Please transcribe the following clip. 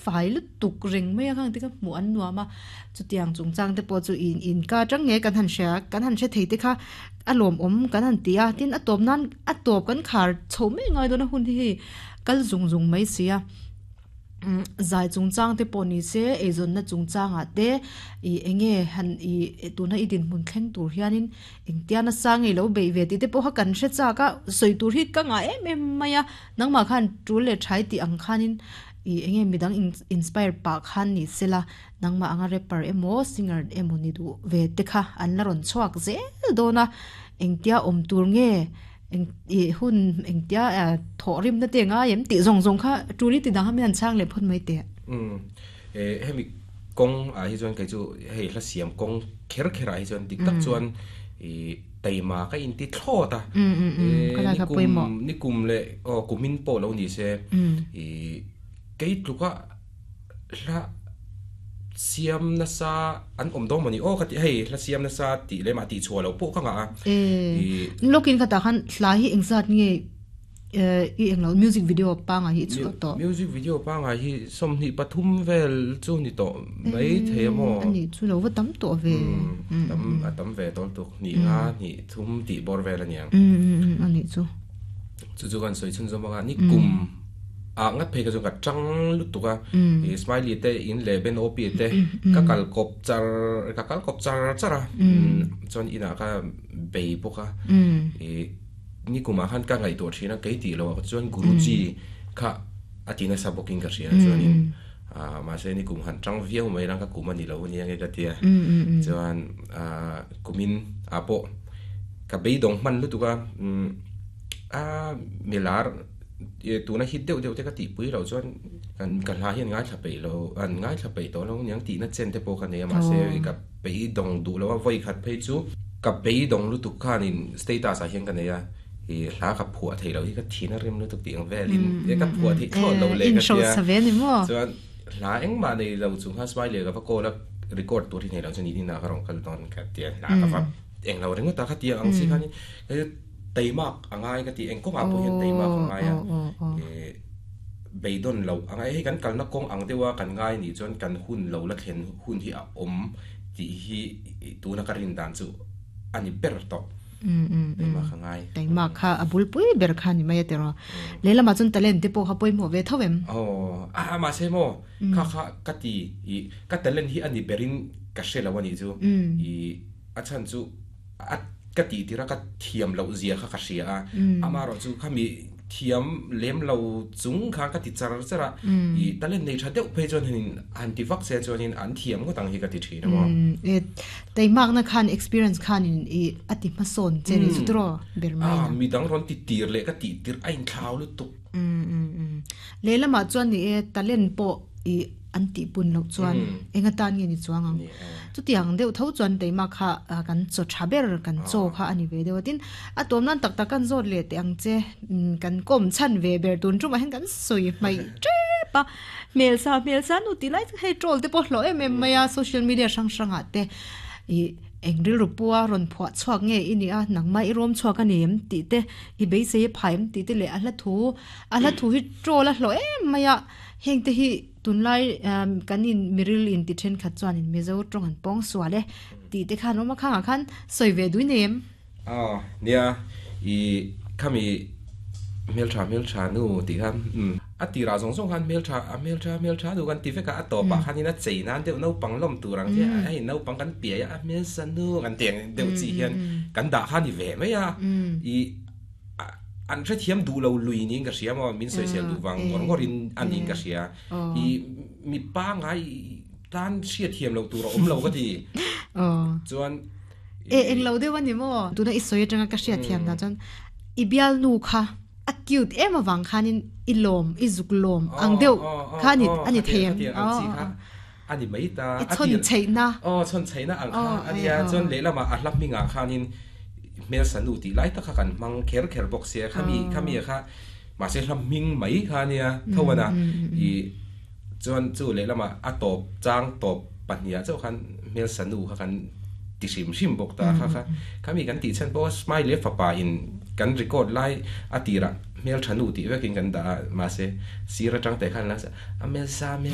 fai lutuk reng mai a khang te kha hmuh an nuam a, chutiang chungchang te pawh chu in in ka atang nge kan han hria kan han hre thei te kha a lawmawm kan han ti a, tin a tawp nan a tawp kan khar chho mai ngai dawn a hun hi hei kal zung zung mai si a. Zai chungchang te pawh ni se, eizawnna chungchangah te ih eng nge han ih tuna i dinhmun thleng tur hianin engtia nasa nge lo beih ve tih te pawh kha kan hre chak a, sawi tur hi ka ngah em em mai a, nangmah khan tul leh thai tih ang khanin ih eng nge midang inspire pah khan ni sela, nangmah anga rapper emaw singer emaw ni duh ve te kha an la rawn chhuak zel dawn a, engtia awm tur nge Eng i hun engtia thawh rimna te ngai em tih zawng zawng kha tul i ti dang kha min han chhang leh phawt mai teh. Umm e hemi kawng ah hi chuan kei chu hei hla siam kawng kher kher ah hi chuan dik tak chuan i taima ka inti thlawt a. E nikum nikum leh aw kumin pawh lo ni se i kei tluka hla siam nasa an awm dawn mawni aw ka ti hei hla siam nasa tih leh mah tih chhuah loh pawh ka ngah a i lawkin ka tah khan hla hi engzat nge i englo music video pangai hi i chhuah tawh music video pangai hi 23 vel chu ni tawh mai thei a maw ani chu lo va tam tawh ve tam a tam ve tawl tuk hnih nga hnih thum tih bawr vel aniang ani chu chu chu kan sawi chhunzawm anga ni kum ah ngat phei kha chuan ka tang lutuk a ih smiley te in leh ben op te ka kal kawp char ka kal kawp char char a chuan inah ka bei bawk a ih nikumah khan ka ngaihtuah thin a kei tih loh ah chuan guruji kha a ti nasa bawkin ka hria chuanin ah mahse nikum han tang viau mai lang ka kum a ni lo ania nge ka tia chuan ah kumin ah pawh ka beidawng hman lutuk a a milar tuna hit deuh deuh te ka tihpui loh chuan kan ka hla hi an ngaithla peih lo an ngaithla peih tawh lo aniang tihna chen te pawh ka nei a mahse ka beidawng duh lo a vawi khat phei chu ka beidawng lutuk khanin status ah hian ka nei a ih hla ka phuah theih loh hi ka thin a rem lutuk tih ang velin e ka phuah theih thlawt loh leh ka tia chuan hla engmah nei lo chung khan smiley ka va call a record tur hi nei lo chuan inah ka rawn kal dawn ka tia hla ka va englo ringawt a kha tiang ang chi khanin Teimak a ngai ka ti, eng kawngah pawh hian teimak a ngai a, ih beidawn loh a ngai. Hei kan kalna kawng ang deuha kan ngai nih chuan kan hun lo la thlen hun hi a awm tih hi tuna ka rin dan chu a ni ber tawh. Teimak a ngai. Teimak kha a bulpui ber kha a ni mai a tiraw. Lehlamah chuan talent te pawh kha pawimawh ve tho em? Aw, a mahse maw kha kha ka ti ih ka talent hi a ni berin ka hre lo a nih chu ih a chhan chu a ka tih tir a ka thiam loh zia kha ka hria a amaherawh chu khami thiam lem lo chung khan ka ti char char a i talent nei tha deuh phei chuan hianin han ti vak se chuanin an thiam ngawt ang hi ka ti thin a maw. Teimakna khan experience khanin i a ti hmasawn che ni chu tiraw ber mai na. Midang rawn ti tir leh ka tih tir a inthlau lutuk. Lehlamah chuan ni e talent pawh i an tih pun loh chuan eng atan nge ni chuang ang. Chutiang deuh tho chuan keimah kha kan chaw tha ber kan chaw kha a ni ve deuh a. Tin, a tawm nan tak tak kan zawt leh teh ang che kan kawm chhan ve ber tun tumah hian kan sawi hmaih tep a. Hmelsa hmelsa nu tih lai chu hei troll te pawh hlawh em em mai a social media hrang hrangah te ih eng rilru pua rawn phuah chhuak nge i nih a nangmah i rawm chhuak a ni em tih te i beisei a phai em tih te leh a hla thu a hla thu hi troll a hlawh em mai a. Heng te hi tunlai kan in miril in ti thenkhat chuan in Mizo tawng an pawng sual e tih te khan awm a khangah khan sawi ve dui nei em? Aw nia i khami hmeltha hmeltha nu tih khan umm a tirah zawng zawng khan hmeltha a hmeltha hmeltha nu kan ti vek a a tawpah khan in a chei nan deuh naupang lawm tur ang che hei naupang kan piai a a hmelsa nu kan ti ang deuh chi hian kan dah kha ni ve mai a i An hrethiam duh lo lui niin ka hria maw, min sawisel duh vang ngawr ngawrin a niin ka hria. I mi pangai tan hriatthiam loh tur a awm lo ka ti. Chuan E eng lo deuh a ni maw? Tuna i sawi atanga ka hriatthiam dan chuan i bialnu kha a cute em avang khanin i lawm, i zuk lawm ang deuh kha a ni thei em? A ni mai ta. I chhawn chheihna. Aw, chhawn chheihna ang kha a nia. Chuan lehlamah a hla hmingah khanin hmelsa nu tih lai tak kha kan hmang kher kher bawk sia. Khami, khami kha mahse hla hming mai kha a nia tho a na. I chuan chu lehlamah a tawp chang tawp pahniha chauh khan hmelsa nu kha kan ti hrim hrim bawk ta kha kha. Khami kan tih chhan pawh Smiley a fapa in kan record lai a tirah hmeltha nu tih vekin kan dah a, mahse sir atang teh khan a hmelsa, hmelsa.